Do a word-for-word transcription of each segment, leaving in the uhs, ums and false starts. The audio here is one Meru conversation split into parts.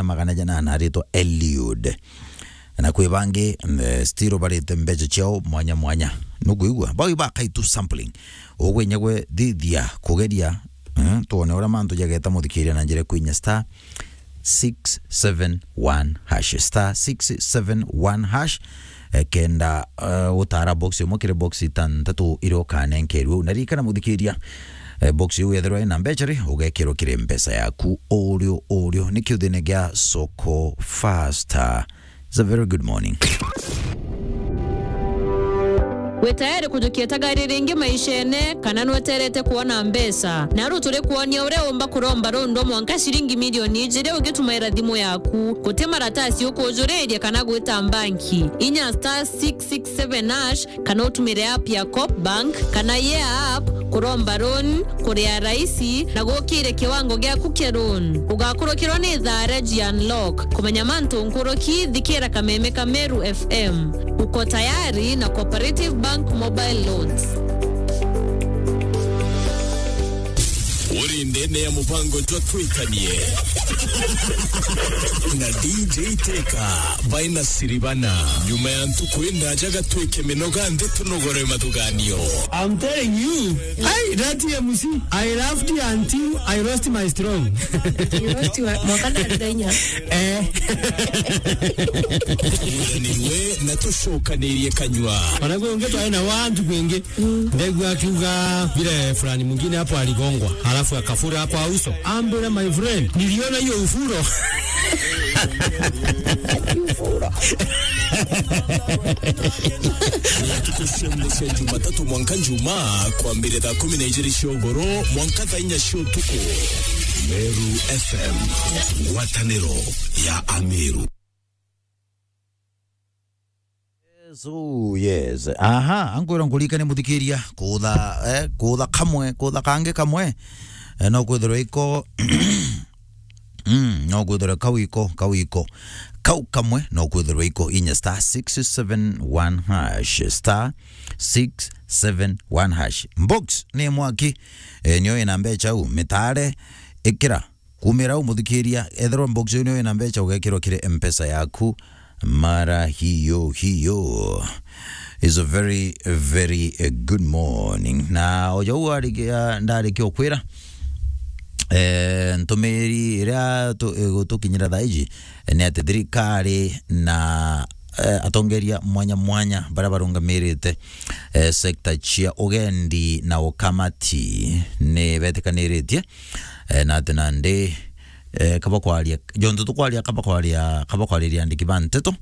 magana jana na aritwa Eliud. Na kwi bangi, eh, still barite mbeca ciao mwanya mwanya. Nukwigua? Bau ibakai tu sampling. Ugwe inya gwe thithia kugeria, eh, tuone uria mantu jageta muthikiria na njira kwinya star six seven one hash. Star six seven one hash. Eh, kenda, eh, utara box imwe kiri box itantatu iria ukanenkerwe. Na ririkana muthikiria, eh, box iu yethirwa ina mbeca ri, ugekirwa kiri mpesa yaku urio urio. Niki uthine gia soko faster. It's a very good morning. Wi tayari kujukia tagari ringi maishene, kana nweterete kuona mbeca? Naru turi kuonia uria umba kuromba rundu mwanka ciringi milioni ijiri ugitumaira thimu yaku. Guti maratasi ukujuriria kana gwita mbanki. Inya star six six seven hash kana utumire app ya Coop Bank kana Yeah app kuromba loan, kuria raisi na gukire kiwango giaku kia loan. Ugakurukirwa ni thaara ji unlock. Kumenya mantu nkuruki, thikira kameme ka Meru F M. Uko tayari na Cooperative Bank Mobile Loans. Uri ndene ya mubango jwa Twikanie na D J Teka baina Siribana. Nyuma ya ntuku indaja gatwike minoga nthi tunogore mathuganio. I'm telling you, hey, that M C, I laughed until I lost my strong. You lost your, mwaka na ndainya. Eh. Tuguranirwe na tucokanirie kanyua. Ona kwi ungi twaina wantu kwingi. Ndegua akiuga vile fulani mwingine hapo aligongwa, alafu akafura kwa uso. Ambira, my friend, niliona hiyo ufuro. Tukucembucia Jumatatu mwanka Njuma, kwambire thaa kumi na ijiri cia ugoro mwanka thaa inya cia utuku. Meru F M, ngwataniro ya Ameru. Yes, oh, yes. Aha, ankwira nkuririkanie muthikiria, kutha, eh, kutha kamwe, kutha kangi kamwe. Eh, no kwithirwa iko, mm, no kwithirwa kau iko, kau iko. Kau kamwe, no kwithirwa iko inya star six seven one hash, star six seven one hash. Box ni mwaki, eh, nio ina mbeca u, mitare, ikira. Kumira u muthikiria, ethirwa box iu niyo ina mbeca, ugekirwa kiri M-Pesa yaku mara hiyo hiyo. It's a very, very, eh, good morning. Na o jau arikia, ndarikia ukwira, eh, ntumiri iria tu-, igutukinyira thaa iji, eh, ni ati thirikari na, eh, atongeria mwanya mwanya baria barungamirite, eh, sector cia ugendi na ukamati ni betikaniritie, eh, na ati nandi, eh, kaba kwaria, jontu tukwaria, kaba kwaria, kaba kwariria andiki ba nteto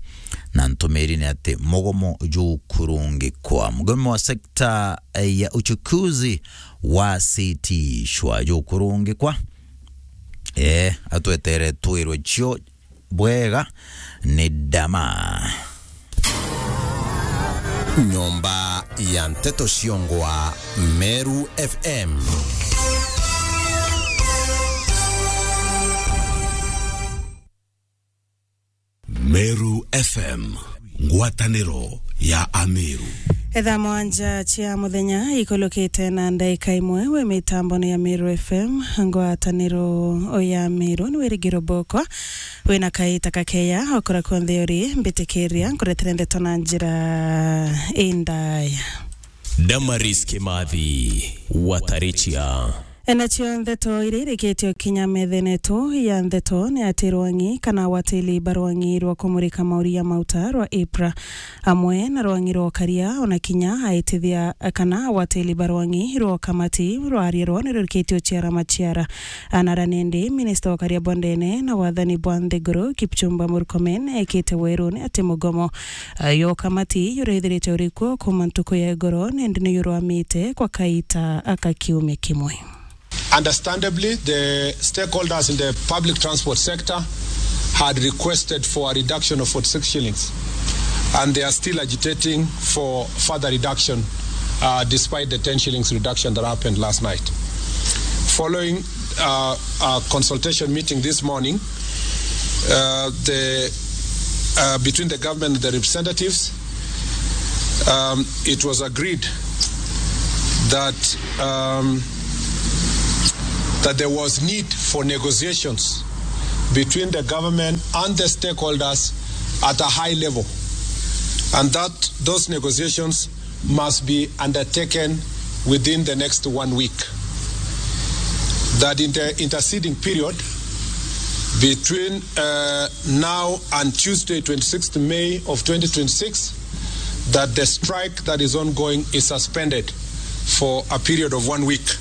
na ntumiri ni ati mugomo jukurungikwa. Mugomo wa sekta, eh, ya uchukuzi wa sitishwa jukurungikwa. Eh, atwetere twirwe cio bwega ni Dama. Nyomba ya nteto ciongwa Meru F M. Meru F M, ngwataniro ya Ameru. Etha mwanja cia muthenya ikulukite na ndaika imwe wi mitamboni ya Meru F M, ngwataniro ya Meru. Ni Wirigiro Bokwa. Wina kaita kakeya okura kunthe uri, mbitikiria nkuretere ndeto na njira indaya. Damaris Kimathi, Watarichia. Enacio ndeto iria irikitio kinya methene yetu ya ndeto ni ati rwang'i kana watili ba rwang'i rwa kumurika mauri ya mauta rwa IPRA amwe na rwang'i rwa ukaria ona kinya aitithia kana watili ba rwang'i rwa ukamati rwaria rwo ni rurikitio ciara maciara. Anara nindi, minista wa ukaria bwa ndene na wathani bwa nthiguru, Kipchumba Murkomen, ekite werune ati mugomo, ah, yo kamati yuraithirite urikuo kuma ntuku ya igoro, nindi ni yurwamite kwa kaita aka kiumia kimwe. Understandably, the stakeholders in the public transport sector had requested for a reduction of forty-six shillings, and they are still agitating for further reduction, uh, despite the ten shillings reduction that happened last night. Following, uh, a consultation meeting this morning, uh, the, uh, between the government and the representatives, um, it was agreed that, um, that there was need for negotiations between the government and the stakeholders at a high level, and that those negotiations must be undertaken within the next one week. That in the interceding period between, uh, now and Tuesday, twenty-sixth May of twenty twenty-six, that the strike that is ongoing is suspended for a period of one week.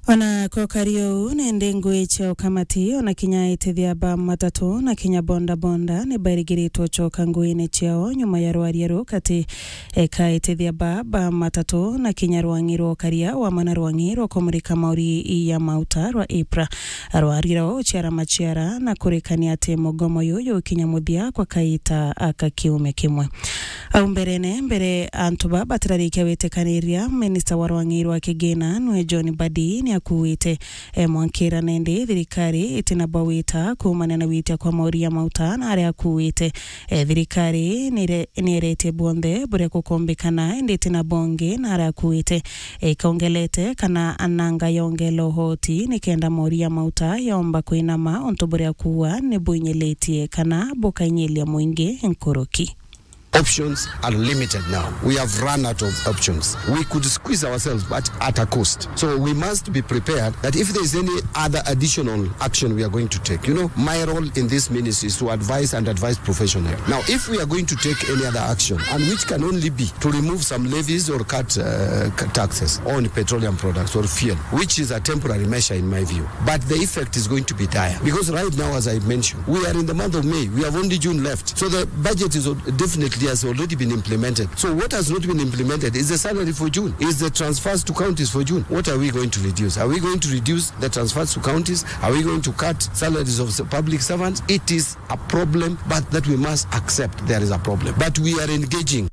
Ona kokari uu, nende ngui cia ukamati, ona kinya aitithia ba matatu na kinya boda boda, ni bairigiritwe ucoka nguine ciao nyuma ya rwaria ruu kati ka aitithia ba, ba matatu na kinya rwang'i rwa ukaria wa mana rwang'i rwa kumurika mauri ya mauta rwa IPRA. Rwaria ruu ciara maciara na kurekania ati mugomo uyu ukinya muthia kwa kaita ka kiumia kimwe. Au mberene, mbere antu ba batirarikia witikaniria, minista wa rwang'i rwa kigina nwe John Mbadi ni akuite, e, mwankira nende thirikari itina bawita kuumania na witia kwa mauri ya mauta na aria akuite. E, thirikari nire-, nieretie bonthe buria kukombikana, indi itina bongi na aria akuite. E, ikaongelete kana ananga yongela uhoti nikenda mauri ya mauta yomba kwinama untu buria kuua ni buinyilitie kana bukainyilia mwingi nkuruki. Options are limited now. We have run out of options. We could squeeze ourselves, but at a cost. So we must be prepared that if there is any other additional action we are going to take, you know, my role in this ministry is to advise and advise professionally. Now, if we are going to take any other action, and which can only be to remove some levies or cut, uh, cut taxes on petroleum products or fuel, which is a temporary measure in my view, but the effect is going to be dire. Because right now, as I mentioned, we are in the month of May. We have only June left. So the budget is al-, definitely has already been implemented. So what has not been implemented is the salary for June, is the transfers to counties for June. What are we going to reduce? Are we going to reduce the transfers to counties? Are we going to cut salaries of the public servants? It is a problem, but that we must accept there is a problem. But we are engaging.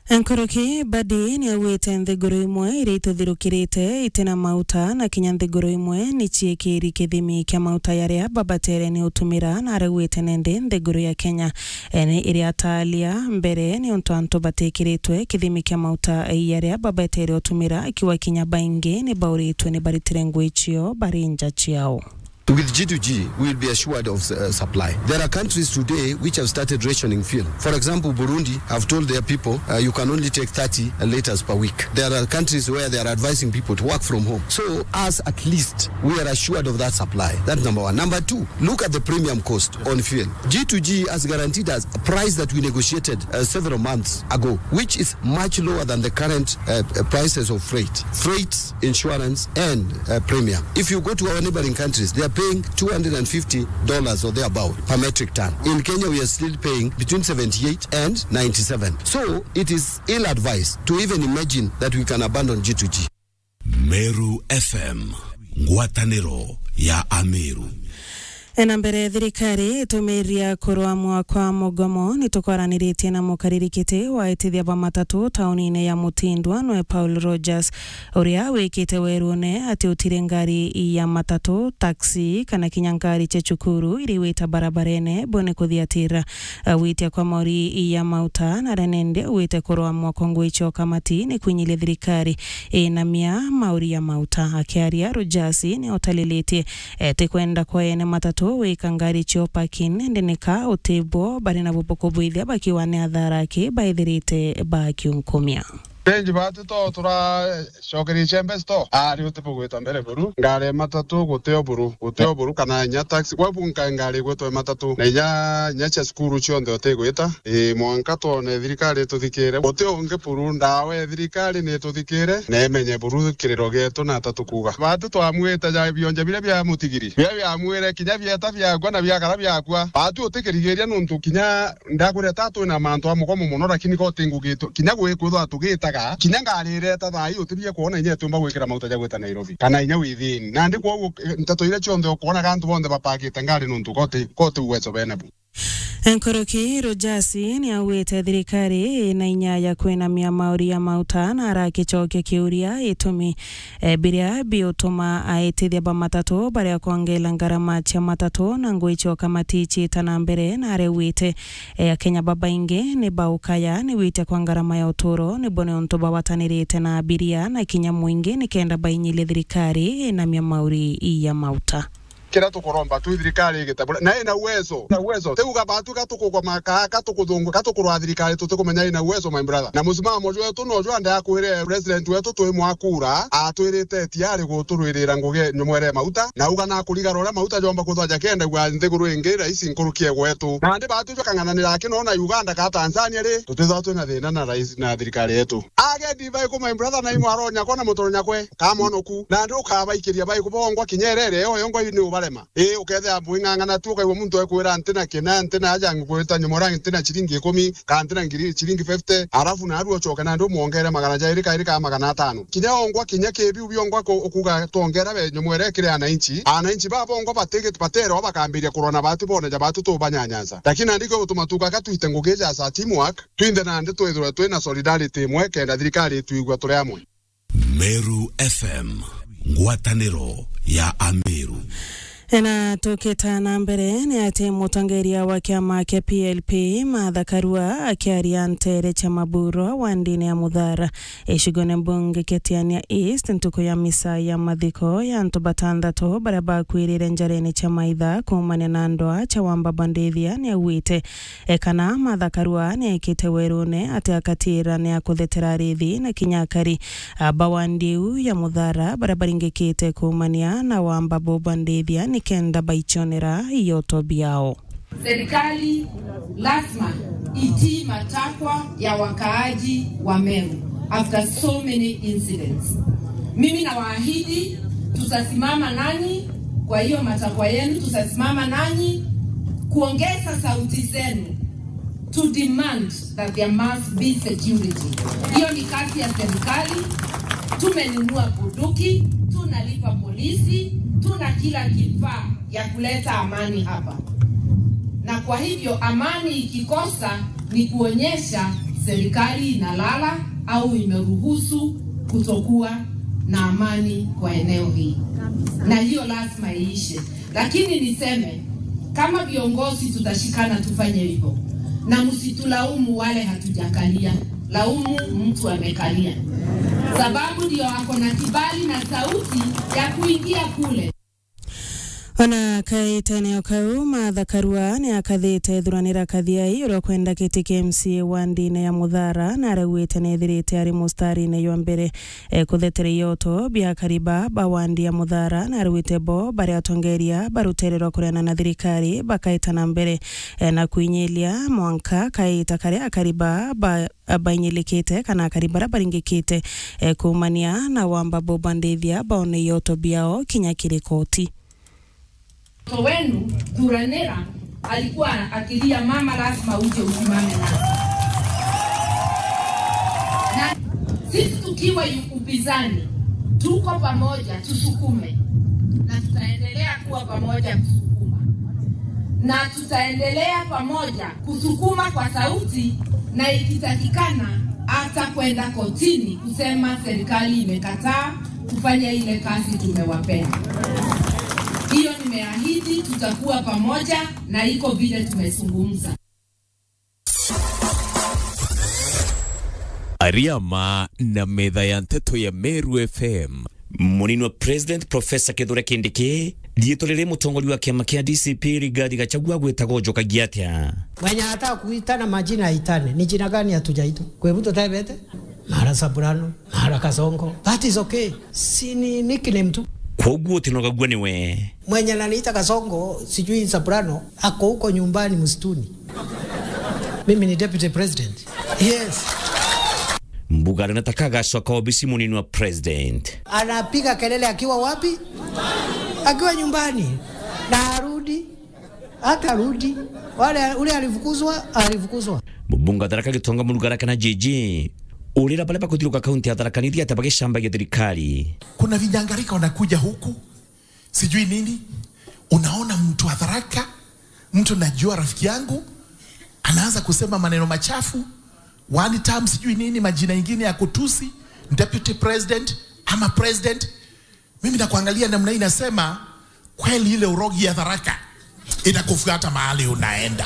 Nkuruki, Mbadi ni augite nthiguru imwe iria ituthirukirite itina mauta na kinya nthiguru imwe ni ciikiri kithimi kia mauta yaria babatere ni utumira, na araugite nende nthiguru ya Kenya, e, ni iria atalia mbere ni untu antu batikiritwe kithimi kia mauta yaria babatere utumira, akiwa kinya baingi ni bauritwe ni baritire ngui cio bari nja ciao. With G two G, we will be assured of, uh, supply. There are countries today which have started rationing fuel. For example, Burundi have told their people, uh, you can only take thirty liters per week. There are countries where they are advising people to work from home. So us, at least, we are assured of that supply. That's number one. Number two, look at the premium cost on fuel. G two G has guaranteed us a price that we negotiated, uh, several months ago, which is much lower than the current, uh, uh, prices of freight. Freight, insurance, and, uh, premium. If you go to our neighboring countries, they are paying two hundred and fifty dollars or thereabout per metric ton. In Kenya, we are still paying between seventy-eight and ninety-seven. So it is ill-advised to even imagine that we can abandon G two G. Meru F M, ngwataniro ya Ameru. Ena mbere, thirikari itumiria kurwamwa kwa mugomo. Ni tukwaraniritie na mukaririkiti wa itithia ba matatu taunine ya Mutindwa, nwe Paul Rogers, uria wikite werune ati utiri ngari ya matatu, taxi, kana kinya ngari cia cukuru iri wita barabarene bone kuthiatira, uh, witia kwa mauri ya mauta, na renende wite kurwamwa kwa ngui cio kamati ni kwinyilia thirikari inamia mauri ya mauta. Akiaria, Rogers ni utalilitie, e, ti kwenda kwa ene matatu wika ngari cio parking, indi nika utibwo bari na bubuku bwithia bakiwa ni athara aki baithirite bakiunkumia. Benji batu to turacokerie chembe sto. Ari utibugwita mbere buru. Ngari matatu gutio buru, gutio buru kana inya taxi. Kwa bunka ngari gwitwe matatu. Na inya, inya cia cukuru cionthe utigwita. Ii, mwanka twone thirikari ituthikire. Guti ungi buru, ndawa ya thirikari ni ituthikire na imenye buru kiriro gietu na ta tukuuga. Batu twamwite ja bionje biria bia mutigiri. Biria biamwire kinya bieta biakwa na biakara biakwa. Batu utikirigiria nuntu kinya ndakwira ta twina mantu a mugomo mono, lakini ko ti ngugi tu-, kinya gwi kwithwa tugitaga. Kinya ngari ireta thaa ii utibie kwona inya itiumba gwikira mauta ja gwita Nairobi. Kana inya within. Nandi kwoguo, eh, nteto iria cionthe ukonaga antu bonthe bapakite ngari nuntu ko ti, ko ti uwezo bene bu. Nkuruki, Rogers ni augite thirikari ina inya ya kwinamia mauri ya mauta na arakicokia kiuria itumi, e, biria biutuma aitithia ba matatu baria kwongela ngarama cia matatu na ngui cio kamati ciita na mbere, na araugite, e, Akenya babaingi ni baukaya ni witia kwa ngarama ya uturo, nibo ni untu bawatanirite na abiria na kinya mwingi nikenda bainyilie thirikari inamia mauri ya mauta. Kiria tukuromba tu thirikari igite bure, na ina uwezo, na uwezo. Tiuga batu ka tukugoma, ka, ka tukuthungu, ka tukurwa thirikari, tutikumenya ina uwezo, my brother. Na musimamo jwetu no jwa nde akwire president wetu twi mwakura, atwirite tiari guturwirira ngugi nyomwere mauta, na uga na kurigarura uria mauta jomba kuthwa jakenda gwa nthiguru ingi raisi nkuruki e gwetu. Na ndi batu jwa kang'ananira aki no na Uganda ka Tanzania ri, tutithwa twina thina na raisi na thirikari yetu. Age divai ku, my brother, na imwaro nyakwa na mutoro nyakwe, ka mwonoku. Na ndi ukabaikiria bai kubongwa kinya irere, yo yongwa ni ubarema. Ii, ukethira bwing'ang'ana tu, ukaigua muntu ekwira, "Ntina kina, ntina aja ngwita nyomora, ntina ciringi ikumi, ka ntina ngiri, ciringi fifty," arafu naarua ucoke nandi umwongere magana jairi kairi ka magana atano. Kinya ongwa, kinya kibiu biongwa ku-, ukuga twongera be nyomwere kiri ananchi. Ananchi babongwa batigi-, baterwa bakambiria kurwa na batu bone ja batu tubanyanyansa. Lakini nandi kio gutuma tuka ka twite ngugi ja sa teamwork, twinthe nandi twithirwe twina solidarity imwe kenda thirikari itwigua turi amwe. Meru F M, ngwataniro ya Ameru. Na tukita na mbere, ni ati mutongeria wa kiama kia P L P, Martha Karua, akiaria ntere cia Maburo wa ndini ya Muthara, icigone mbunge kia Tiania East, ntuku ya misa ya mathiko ya antu batanthatu baria bakwirire njarene cia maitha kuumania na ndwaa cia Wamba Bandithia, ni augite E, kana Martha Karua ni ekite werune ati akatira ni akuthetera arithi na kinya akari, a, ba wandi iu ya Muthara baria baringikite kuumania na Wamba Boba Ndithia nikenda baichonera ioto biao. Serikali lazima itii matakwa ya wakaaji wa Meru after so many incidents. Mimi nawaahidi tutasimama nanyi kwa hiyo matakwa yenu, tutasimama nanyi kuongeza sauti zenu to demand that there must be security. Hiyo ni kazi ya serikali. Tumenunua bunduki, tunalipa polisi, tuna kila kifaa ya kuleta amani hapa. Na kwa hivyo amani ikikosa ni kuonyesha serikali inalala au imeruhusu kutokuwa na amani kwa eneo hii. Na hiyo lazima iishe. Lakini niseme, kama viongozi tutashikana tufanye hivyo, na msitulaumu wale hatujakalia, laumu mtu amekalia, sababu ndio ako na kibali na sauti ya kuingia kule. Ona kaitene o kau, Martha Karua ni akathite Thuranira Kathiai, uria ukwenda giti kia M C A wa ndini ya Muthara, na arauite ni ethirite ari mustarine jwa mbere, e, kuthetera ioto bia akari ba, ba wandi ya Muthara, na arauite bo bari atongeria ba rutere rwa kuregana na thirikari bakaita na mbere, e, na kwinyiria mwanka kaita karia akari ba, ba, bainyirikite kana akari baria baringikite, e, kuumania na Wamba Boba Ndithia baone ioto biao kinya kiri koti. Mtoto wenu Thuranira alikuwa akilia, "Mama, lazima uje usimame nasi." Na sisi tukiwa yu-, upinzani, tuko pamoja, tusukume. Na tutaendelea kuwa pamoja kusukuma. Na tutaendelea pamoja kusukuma kwa sauti, na ikitakikana hata kwenda kotini kusema serikali imekataa kufanya ile kazi tumewapea. Hiyo nimeahidi, tutakuwa pamoja na iko vile tumezungumza. Ariama na metha ya nteto ya Meru F M. Munini wa President Professor Kithure Kindiki, riitwa riri mutongoria wa kiama kia D C P Rigathi Gachagua gwitagwo njokagia atia? Mwenye anataka kuitana majina aitane. Ni jina gani hatujaitwa? Kwa hivyo tutebete? Mara Saburano, mara Kasongo. That is okay. Si ni nickname tu. Kwoguo utinogagua niwe. Mwenye ananiita Kasongo, sijui Saburano, ako huko nyumbani msituni. Mimi ni deputy president. Yes. Mbuga anataka agacoka obisi munini wa president. Anapiga kelele akiwa wapi? Akiwa nyumbani. Na arudi. Hata rudi. Wale, ule alifukuzwa, alifukuzwa. Mubunge wa Tharaka Gitonga Murugara kana J J, urira baria bakuthiruka kaunti ya Tharaka Nithi ati bagicambagia thirikari. Kuna vinyangarika wanakuja huku, sijui nini. Unaona mtu wa Tharaka, mtu najua, rafiki yangu, anaanza kusema maneno machafu, one term sijui nini, majina ingine ya kutusi deputy president ama president. Mimi nakuangalia namna hii, nasema, kweli ile urogi ya Tharaka inakufuata mahali unaenda.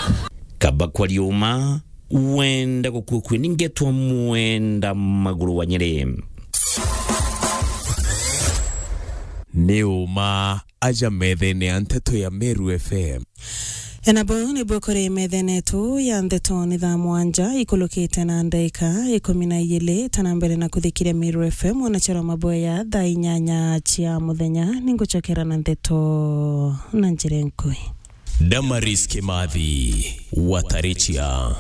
Kaba kwa riuma, wenda gukua kwi, ningetwa Mwenda Maguru wa Nyeri. Ni uma aja methene ya nteto ya Meru F M. Enabo nibo kuri methene yetu ya nteto ni thaa mwanja ikulukite na ndaika ikumi na igiri, tana mbere na kuthikiria Meru F M, ona chero maboya thaa inyanya cia muthenya, ninguchokera na nteto na njira nkui. Damaris Kimathi, Watarichia.